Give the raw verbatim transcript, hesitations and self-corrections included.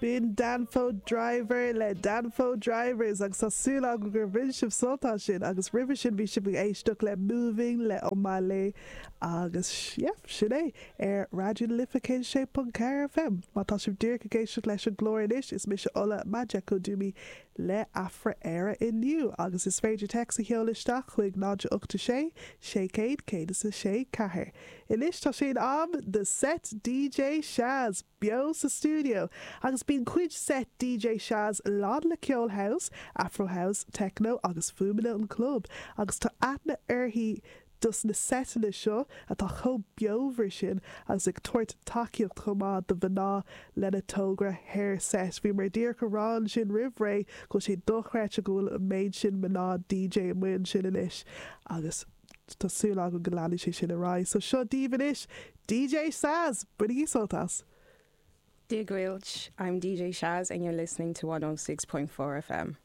B'in Danfo Driver le Danfo Drivers agus tá súil agam gur bhain sibh sult as sin agus roimhe sin bhí sibh ag éisteacht le Moving le Omah Lay agus yeah, sin é ar Raidió na Life céad sé ponc ceathair FM. Má tá sibh díreach ag éisteacht leis an gclár anois is mise Ola Majekodunmi le Afra Éire inniu agus is féidir téacs a sheoladh isteach chuig náid ocht sé sé céad céad is a sé ceathair. Anois tá sé in am do set DJ Shaz beo sa studio agus bíonn cuid set DJ Shaz lán le ceol house, Afro house, techno agus fuaimeanna an club agus tá aithne uirthi dos na setanna seo atá chomh beomhar sin agus ag tabhairt tacaíocht chomh maith do mhná lena togra Her Set. Bhí mar díreach ag rá ansin roimh ré go sé dochreidte go bhfuil an méid sin mná DJ amuigh ansin anois agus tá súil agam go leanfaidh sé sin ar aghaidh. So seo daoibh anois DJ Shaz, bainigí sult as. Dia dhuit, I'm DJ Shaz and you're listening to one oh six point four FM.